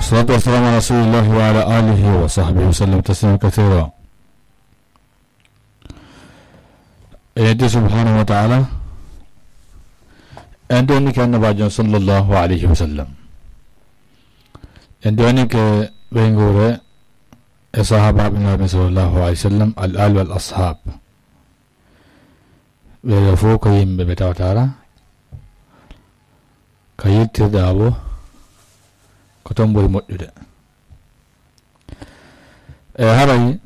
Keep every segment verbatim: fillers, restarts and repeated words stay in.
Salatu wassalamu ala rasulillahi wa ala alihi wa sahbihi wa sallam taslima kathira. En yetti subhanahu wa ta'ala. En ɗonike annabajo sallallahu alayhi wa sallam. En ɗonike ɓeynguure e sahabaɓe Nabi sallallahu alayhi wa sallam, al ali wal ashab. Ɓeɗo fof ko yimɓe ɓe tawatara ka yettirɗa o, ko toon ɓuri moƴƴude. E haray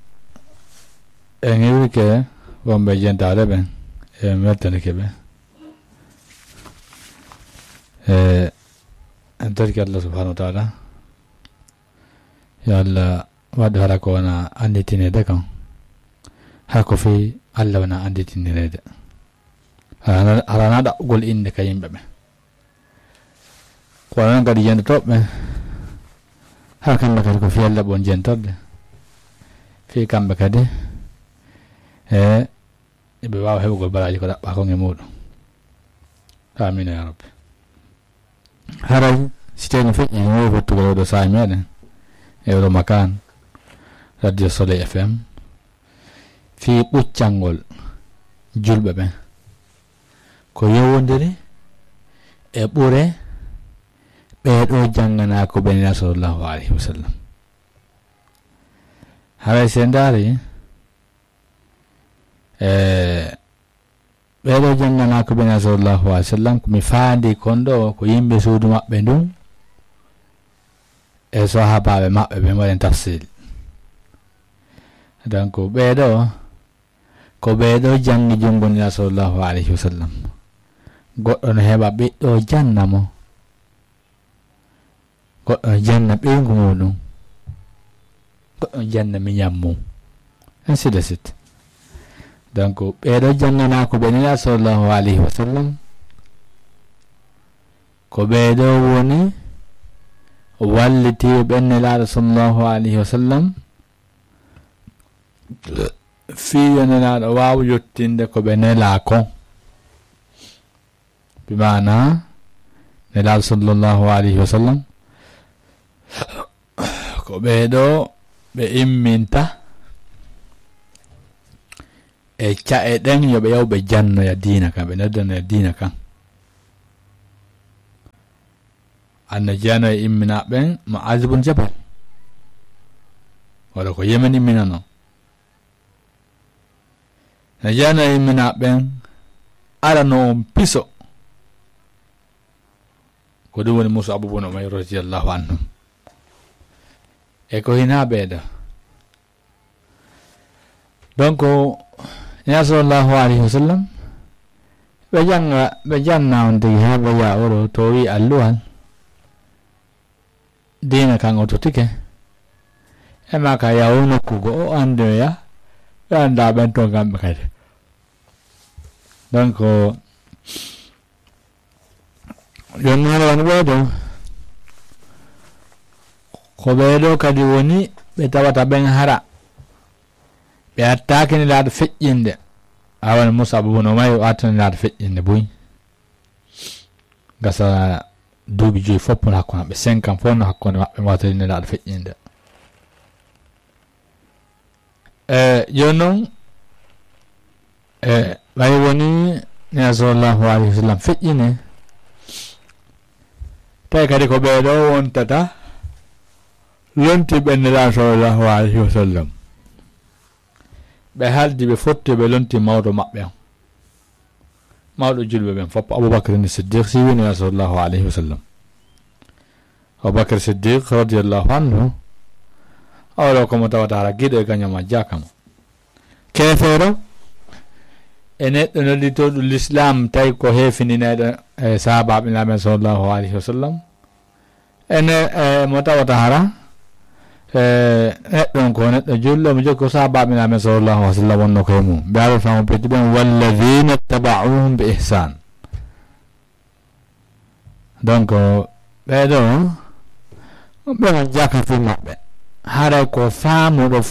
en iwrike wonɓe jentaade ɓen, e weltanike ɓe. E en torike Allah subhanahu wa ta'ala, yo Allah waɗ hara ko wona annditineede kan. Hara ko fii Allah wona annditinireede. Hara na, hara na ɗaɓɓugol innde ka yimɓe ɓe. Ko onon kadi jentotooɓe ɓen, haa kamɓe kadi ko fii Alla ɓe woni jentorde. Fii kamɓe kadi, e, ɓe waawa heɓugol baraaji ko ɗaɓɓaa kon e muuɗum. Aamiin yaa Rabbi. Haray, si tawii no feƴƴi, no wowi fottugol oo ɗoo saa'i meɗen, e oo ɗoo makaan, Radio Soleil F M, fii ɓuccangol julɓe ɓen. Ko yowondiri e ɓure ɓee ɗoo jannganaaku ɓe Nelaaɗo sallallahu alayhi wa sallam. Haray si en ndaari, e, ɓee ɗoo jannganaaku ɓe Nelaaɗo sallallahu alayhi wa sallam, ko mi faandi kon ɗoo, ko yimɓe suudu maɓɓe ndun, e sahaabaaɓe maɓɓe ɓen, waɗen tafsil. Donc, ɓee ɗoo, ko ɓee ɗoo janngi junngo Nelaaɗo sallallahu alayhi wa sallam. Goɗɗo no heɓa ɓiɗɗo janna mo. Goɗɗo no janna ɓeyngu muuɗum. Goɗɗo no janna miñan mum. Ainsi de suite. Donc, ɓee ɗoo jannganaaku ɓe Nelaaɗo sallallahu alayhi wa sallam, ko ɓee ɗoo woni wallitiiɓe ɓen Nelaaɗo sallallahu alayhi wa sallam, fii yo Nelaaɗo waaw yottinde ko ɓe nelaa kon. Bi maanaa, Nelaaɗo sallallahu alayhi wa sallam, ko ɓee ɗoo ɓe imminta e ca'e ɗen, yo ɓe yaw ɓe jannoya diina kan, ɓe noddanoya diina kan. Anno jeyano e imminaaɓe ɓen, Mu'aaz bun Jabal. Wala ko Yemen imminanoo. No jeyano e imminaaɓe ɓen, arano on piso. Ko ɗum woni Mus'ab bun Umayr radiyallahu anhu. E ko hinaa ɓee ɗoo. Donc, Nelaaɗo sallallahu alayhi wa sallam, ɓe jannga, ɓe janna on tigi haa ɓe yaa oɗo to wi alluwal. Diina kan o totike. E maa ka yaw nokku go o anndoya, ɓe annda ɓen ton kamɓe kadi. Donc, Jooni noon woni ɓee ɗoo, ko ɓee ɗoo kadi woni ɓe tawata ɓen hara ɓe attaaki Nelaaɗo feƴƴinde. A woni Mus'ab bun Umayr o attani Nelaaɗo feƴƴinde buy. Gasa duuɓi joyi fof no hakkunde maɓɓe, cinq ans fof no hakkunde maɓɓe, mo attani Nelaaɗo feƴƴinde. E jooni noon, e ɓay woni Nelaaɗo sallallahu alayhi wa sallam feƴƴine, tawi kadi ko ɓee ɗoo wontata lontii ɓen Nelaaɗo sallallahu alayhi wa sallam. Ɓe haldi, ɓe fotti, ɓe lontii mawɗo maɓɓe on. Mawɗo julɓe ɓen fof, Abubakar ni Siddiq, si wini sallallahu alayhi wa sallam. Abubakar Siddiq radiyallahu anhu, oɗo ko mo tawata hara giɗo e gaño majjaka mo. Keefeero e neɗɗo nodditooɗo Lislaam, tawi ko heefininayɗo e sahaabaaɓe Nulaaɗo men sallallahu alayhi wa sallam. Ene, e, mo tawata hara, e, neɗɗo on ko neɗɗo julɗo, mo jokki ko sahaabaaɓe Nulaaɗo men sallallahu alayhi wa sallam wonno ko e mum. Ɓe ara famo peddi ɓen, "Walladhina taba'uhum bi ihsan." Donc, ɓee ɗoo, ɓe on jaka fii maɓɓe. Haray ko faamuɗo